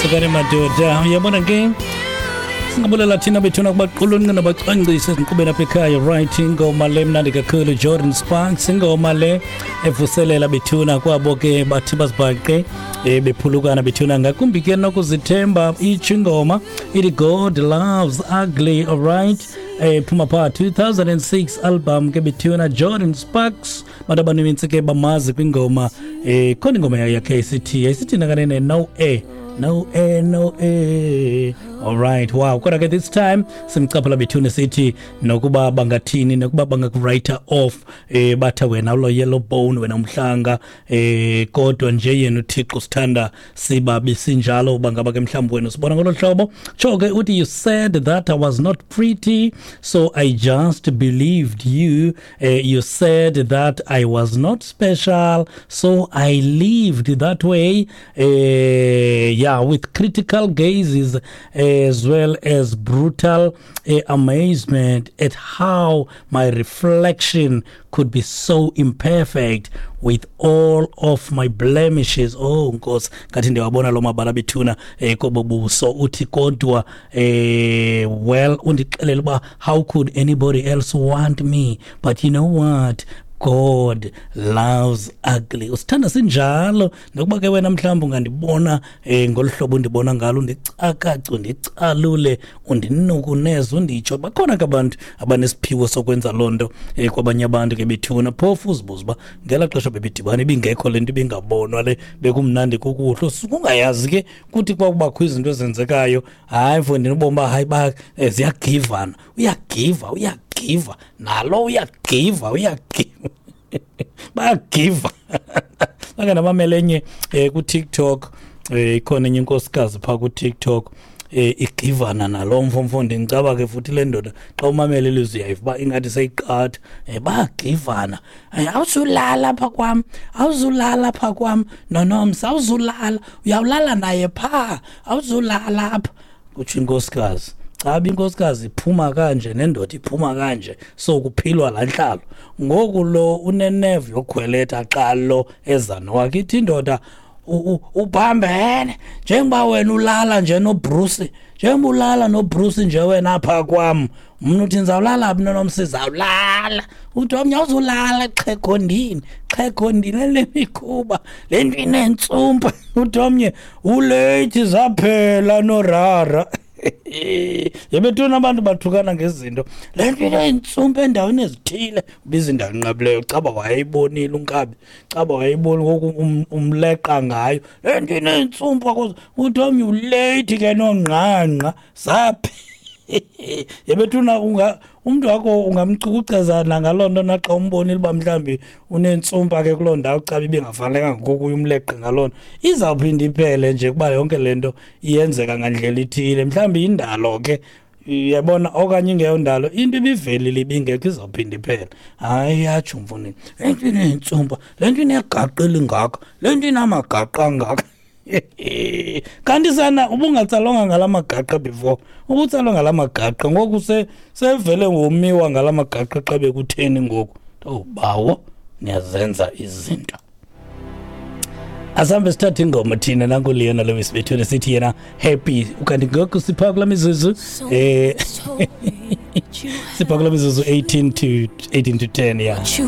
Sukani madoda, uyabona ke, singabulela thina bethuna kubaqulunqi nabacwangcisi ezinkqubeni apha ekhaya. Right, ingoma le mnandi kakhulu, Jordan Sparks, ingoma le evuselela bethuna kwabo ke bathi bazibhaqe bephulukana bethuna, ngakumbi ke nokuzithemba. Itsho ingoma ithi "God Loves Ugly". Alright, phuma phaa 2006 album ke bethuna, Jordan Sparks. Bantu abaninzi ke bamazi kwingoma, khona ingoma yakhe isithi, yayisithi nakanene, "No Air, No Air, No Air". Alright, wow. Kodwa ke this time simcaphula bethuna, sithi nokuba bangathini, nokuba bangaku-write off, batha wena ulo yellow bone, wena umhlanga, kodwa nje yena uThixo sithanda siba besinjalo. Bangaba ke mhlawumbi wena usibona ngolo hlobo. Tsho ke uthi, "You said that I was not pretty, so I just believed you. You said that I was not special, so I lived that way, yeah, with critical gazes as well as brutal amazement at how my reflection could be so imperfect with all of my blemishes." Oh Nkosi, ngathi ndiyawabona lo mabala bethuna kobo buso. Uthi kodwa well, undixelela uba how could anybody else want me? But you know what? God loves ugly. Usithanda sinjalo, nokuba ke wena mhlawumbi ungandibona ngolu hlobo undibona ngalo, undicakace, undicalule, undinukuneze, unditsho. Bakhona ke abantu abanesiphiwo sokwenza loo nto kwabanye abantu ke bethuna. Phofu uzibuza uba ngelaa xesha bebedibana ibingekho le nto, ibingabonwa le, bekumnandi kukuhle, ungayazi ke kuthi kwakubakho izinto ezenzekayo. Hayi mfondini, ubomi uba hayi ba ziyagivana, uyagiva, uyagiva nalo, uyagiva, uyagiva, bayagiva. Ake ndamamela enye kuTikTok, ikhona enye inkosikazi phaa kuTikTok, igivana nalo mfo. Mfondini, caba ke futhi le ndoda, xa umamela ilizwi uyayiva uba ingathi seyiqatha. Bayagivana. "Awuzulala apha kwam, awuzulala apha kwam noNomsa, awuzulala, uyawulala naye phaa, awuzulala apha," kutsho inkosikazi. Caba inkosikazi iphuma kanje nendoda iphuma kanje, so kuphilwa laa ntlalo. Ngoku lo unenevu yokhweletha xa lo eza nowakhe. Ithi indoda, "Uphambene njengoba wena ulala nje noBruce, njengoba ulala noBruce nje wena apha kwam, mna uthi ndizawulala phi noNomsa? Izawulala." Uthi omnye, "Awuzulala, xhegondini, xhegondini, le mikhuba, le nto inentsumpa." Uthi omnye, "Uleyithi, zaphela norara." Yebethuna, abantu bathukana ngezinto. "Le nto inentsumpa endaweni ezithile." Ubiza indawo enqabileyo, caba wayeyibonile unkabi, caba wayeyibonile, ngoku umleqa ngayo. "Le nto inentsumpa." Uthi omnye, "Uleyithi ke nongqangqa, zaphi." Yebethuna, unga umntu wakho ungamcukuceza nangaloo nto, naxa umbonile uba mhlawumbi unentsumpa ke kuloo ndawo, caba ibingafanelekanga, ngoku uye umleqe ngaloo nto. Izawuphinda iphele nje, kuba yonke le nto iyenzeka ngandlela ithile. Mhlawumbi yindalo ke, uyabona, okanye ingeyondalo, into ibivelile ibingekho, izawuphinda iphele. Hayi, yatsho mfondini, "Le nto inentsumpa, le nto inegaqa elingaka, le nto inamagaqa angaka." Kanti sana ubungatsalwanga ngala magaqa before, ubutsalwa ngala magaqa ngoku, sevele womiwa ngala magaqa. Xa bekutheni ngoku? Oh bawo, niyazenza izinto. Asambe sithathe ingoma thina. Nanku Leona Lewis bethuna, sithi yena "Happy". Ukanti ngoku sipha kula mizuzu 18 to 10, yeah. You